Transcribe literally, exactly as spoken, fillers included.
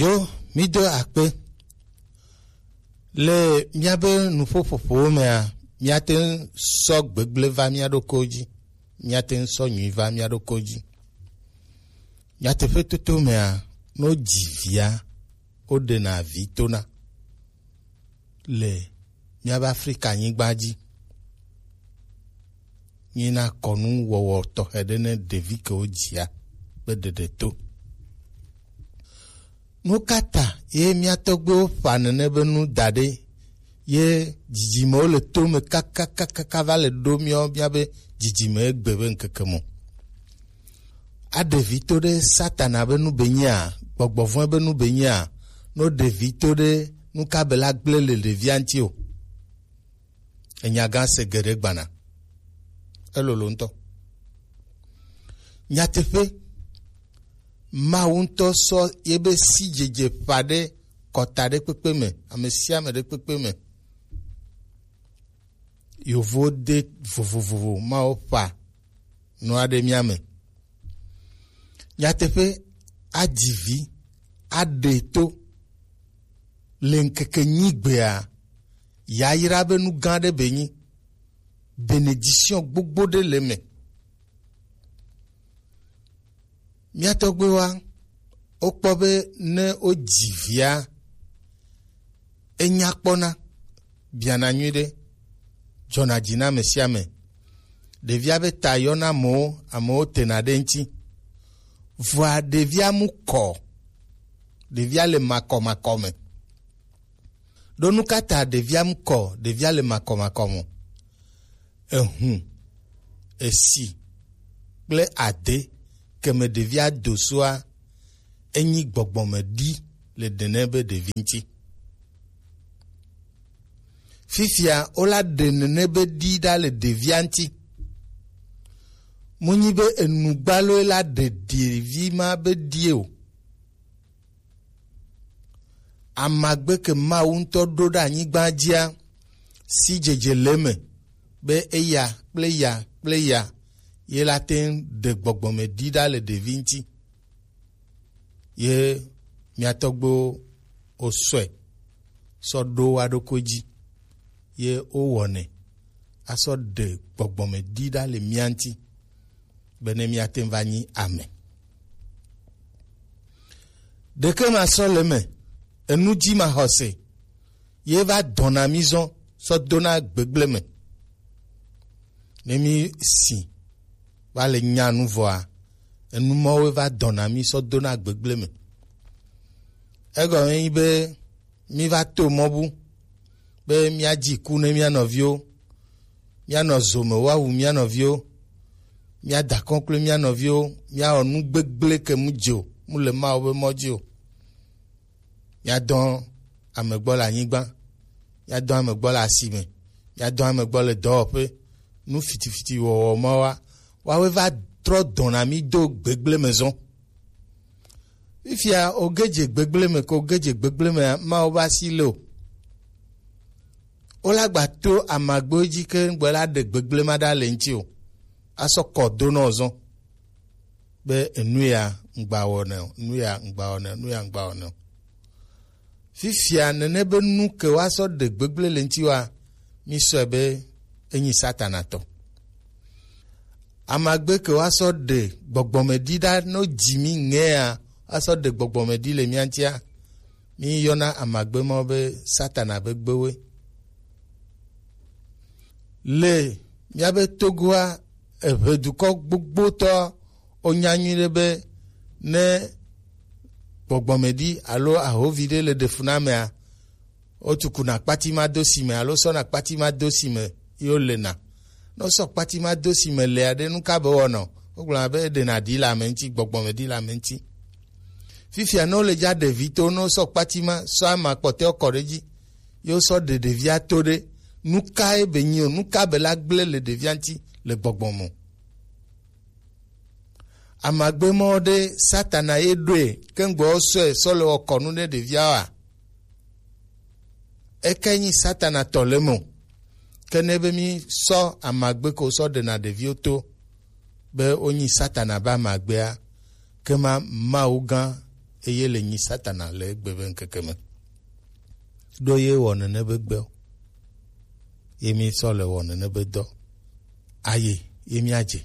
Yo, mído akpe. Le míabe nuƒoƒoƒowo mea, míate ŋu sɔ gbegblẽ va mía ɖokuiwo dzi, míate ŋu sɔ nyui va mía ɖokuiwo dzi. Nyateƒetoto mea, ne wodzi via, woɖena vi tona le míabe Afrika nyigba dzi. Nyina kɔnu wɔwɔ tɔxɛ ɖe ne ɖevi ke wodzia be ɖeɖe to. Nu ka ta ye mía tɔgbuiwo ƒa nene be nu da ɖe ye dzidzimewo le to me kakakakaka va le ɖo míawo míabe dzidzime egbe be ŋkeke me o? Aɖe vi to ɖe Satana be nu be nyea, gbɔgbɔ vɔ̃e be nu be nyea, no ɖe vi to ɖe nu ka be la gblẽ le ɖevia ŋuti o. Enya gã se geɖe gbana. Elolo ŋutɔ. Nyateƒe, Mawu ŋutɔ sɔ yebe sidzedze ƒa ɖe kɔta ɖe kpekpe me, ame sia ame ɖe kpekpe me. Yovo de vovovovo, Mawu ƒa nua ɖe mía me. Nyateƒe, adzi vi, aɖe to le ŋkeke nyigbea, yayra be nu gã ɖe be nyi, bénédiction gbogbo ɖe le me. Mía tɔgbuiwoa, wokpɔ be ne wodzi via, enya kpɔna, biana nyuiɖe, dzɔna dzi na ame sia ame. Ɖevia be ta yɔna amewo, amewo tena ɖe eŋuti. Vɔa ɖevia mu kɔ, ɖevia le makɔmakɔ me. Ɖo nu ka ta ɖevia mu kɔ, ɖevia le makɔmakɔ me? Ehun, esi kple ade ke me ɖevia do soa, enyi gbɔgbɔme ɖi le ɖe ne be ɖevi ŋuti. Fifia wola ɖe nene be ɖi ɖa le ɖevia ŋuti. Munyi be enugbaloe la ɖe ɖevi ma be ɖie o. Amagbe ke Mawu ŋutɔ ɖo ɖe anyigba dzia, sidzedze le eme be eya kple ya kple ya ye la te ŋu ɖe gbɔgbɔme ɖi ɖa le ɖevi ŋuti. Ye mía tɔgbuiwo wosɔe sɔ ɖo wa ɖokui dzi, ye wowɔnɛ asɔ ɖe gbɔgbɔme ɖi ɖa le mía ŋuti, bene míate ŋu va nyi ame. Ɖeke ma sɔ le eme, enu dzi ma xɔse, ye va dɔna mí zɔn sɔ dona gbegble me. Ne mí si va le nya nu vɔa, enu mɔwo va dɔna mí sɔ dona gbegble me. Egɔme nyi be mí va to mɔ bu be míadzi ku ne mía nɔviwo, míanɔ zo me woawu mía nɔviwo, míada kɔnklo mía nɔviwo, míawɔ nu gbegble ke mu dze o, mu le Mawu be mɔ dzi o. Míadɔ ame gbɔ le anyigba, míadɔ ame gbɔ le asime, míadɔ ame gbɔ le dɔwɔƒe, nu fitifiti wɔwɔ ma wa, woawoe va trɔ dɔna mí do gbegble me zɔn. Fifia, oge dze gbegble me ko, oge dze gbegble me, Mawu be asi le o. Wola gba to amagbewo dzi ke gbɔ la ɖe gbegble ma ɖa le ŋuti o. Asɔ kɔ do nɔ zɔn. Be enu ya ŋgba wɔnɛ o, nu ya ŋgba wɔnɛ o, nu ya ŋgba wɔnɛ o. Fifia nene be nu ke woasɔ ɖe gbegble le ŋuti wa, mísɔe be enyi Satana tɔ. Amagbe ke woasɔ ɖe gbɔgbɔme ɖi ɖa no dzi mí ŋea, woasɔ ɖe gbɔgbɔme ɖi le mía ŋutia, míyɔna amagbe mawo be Satana be gbewoe. Le míabe Togoa, eʋedukɔ gbogbotɔ wonya nyuiɖe be ne gbɔgbɔmeɖi alo ahovi ɖe le ɖe fu na amea, wotukuna kpati ma do si me alo sɔna kpati ma do si me ye wolena. Ne wosɔ kpati ma do si me lea ɖe, nu ka be wɔnɔ? Wogblɔna be eɖena ɖi le ame ŋuti, gbɔgbɔmeɖi le ame ŋuti. Fifia ne wole dza ɖe vi to, ne wosɔ kpati ma sɔ ama kpɔtɔewo kɔ ɖe edzi, ye wosɔ ɖe ɖevia to ɖe, nu kae be nyi o? Nu ka be la gblẽ le ɖevia ŋuti le gbɔgbɔ me o? Amagbe mɔ ɖe Satana ye ɖoe keŋgbɔ wosɔe sɔ le wɔ kɔnu ɖe ɖevia oa? Eke nyi Satana tɔ le me o. Ke ne be mi sɔ amagbe ko sɔ ɖena ɖeviwo to be wonyi Satana be amagbea, ke ma Mawu gã eye le nyi Satana le egbe be ŋkeke me. Ɖo ye wɔ nene be gbe o. Ye mi sɔ le wɔ nene be dɔ. Aye, ye mi adze.